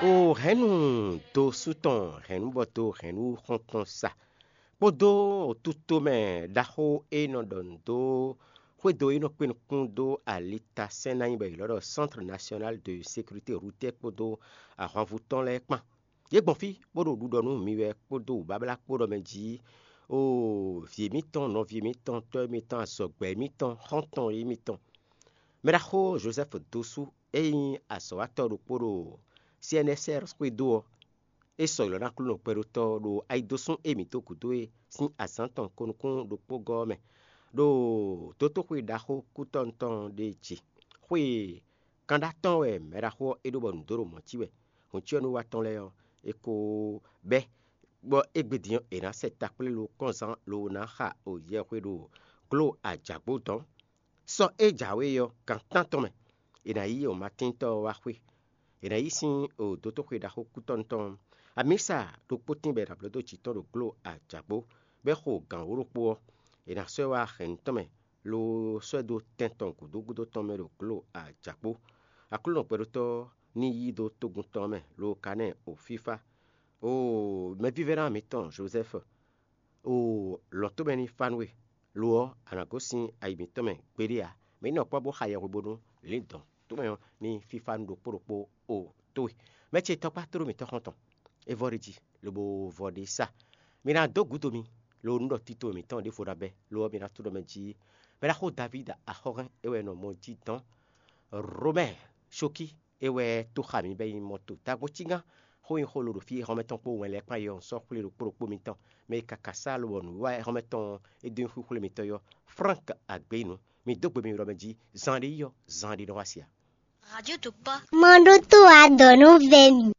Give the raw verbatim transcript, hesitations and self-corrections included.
O hɛ̌nnu dó sú tɔn hɛ̌nnu bɔ dó hɛ̌nnu xɔ́ntɔn sa kpódó tutomɛ ɖaxó e nɔ ɖɔ nǔ dó xwédo e nɔ kpé nukún dó alitasɛn ná nyí bɔ è lɔ́ ɖɔ Centre National de Sécurité Routière kpódó ahwanvú tɔn lɛ́ɛ kpán. Yě gbɔn fí bó ɖo ɖuɖɔ nú mi wɛ kpódó wǔbáblá kpó ɖɔ mɛ jí o vǐ mitɔn, nɔví mitɔn, tɔ́ mitɔn, azɔ̌gbɛ́ mitɔn, xɔ́ntɔn yí mitɔn. Mɛɖaxó Josɛ́fu dó sú e nyí azɔ̌watɔ́ ɖokpó ɖo C N S R xwédo ɔ́, é sɔgbe lɔ ná Aklúnɔ gbɛɖótɔ́ ɖo ayidosún e mǐ dó gǔdo é sín azǎn tɔn ko nukún ɖokpó gɔ́ ɔ́ mɛ, ɖo dotóxwe ɖaxó kútɔ́ tɔn ɖé ce. Xwe kanɖá tɔn wɛ mɛɖaxó ɔ́ é ɖó bɔ nǔ dó ɖo mɔ̌ cí wɛ. Hǔn cyɔ́núwa tɔn lɛ́ɛ ɔ́, è ko bɛ́ bɔ égbé din ɔ́, è nǎ sɛ takplé lo kɔ́nzán lo ná xa o yɛxwe ɖo gló ajǎgbó dɔn. Sɔ e jǎwe ɔ́, gan tántɔn mɛ, è nǎ yí omatíntɔ́ ɔ́ wá xwé. È nǎ yí sín o dótóxwe ɖaxó kútɔ́nu tɔn ɔ́, amǐsa ɖokpó tínbɛ́ ɖo ablɔ̌ dó jǐ tɔn ɖo gló ajǎgbó, bɔ é xo gǎn wǒ ɖokpó ɔ́, è nǎ sɔ́ ɛ wá hɛ̌nnu tɔn mɛ, lo sɔ́ ɛ dó tɛn tɔn gǔdo gúdo tɔn mɛ ɖo gló ajǎgbó. Aklúnɔ gbɛɖótɔ́ ní yí dó togun tɔn mɛ, lo ka ná ɛ o fífá. Oo, mɛvívɛ́ná mǐtɔn Jozɛ́fu, oo, lɔ̌n tomɛ ní fá nú we; lo ɔ́, a nǎ gosín ayi mǐtɔn mɛ gbeɖé ǎ. Mǐ nɔ kpɔ́ bó xa yɛhwebónú lǐndɔ̌n tomɛ ɔ́ ní fífá nú ɖokpó ɖokpó o towe. Mɛ ce tɔkpá tló mǐtɔn xɔ́ntɔn, é vɔ ɖ'é jí, lobo vɔ ɖ'é sá. Mi ná dó gǔdo mi, lo nú ɖɔ tito mǐtɔn ɖěvo ná bɛ́; lo ɔ́, mi ná tló mɛ jí. Mɛ ɖaxó Davídi axɔ́hɛn é wɛ nɔ mɔ jí dɔn. Romɛ́ɛ Sokí é wɛ tó xa mǐ bɔ é nyí mɔto. Dagbo cígán xó nyi xó lo ɖo fí e xɔ́mɛ tɔn kpó wɛn lɛ́ɛ kpán yi ɔ́, un sɔ́ xwlé ɖokpó ɖokpó mitɔn. Mɛ e ka ka sá lobɔ nǔwiwa xɔ́mɛ tɔn ɔ́, é dó nyi xwíxwlé mitɔn yi ɔ́, Frank Agbeyinu. Mi dó gbe mi ɖɔ mɛ jí, zan ɖé yi ɔ́, zan ɖé nɔ wá se ǎ. Radio Tokpa. Mɔ ɖó tó adɔ̌ nú vɛ mì.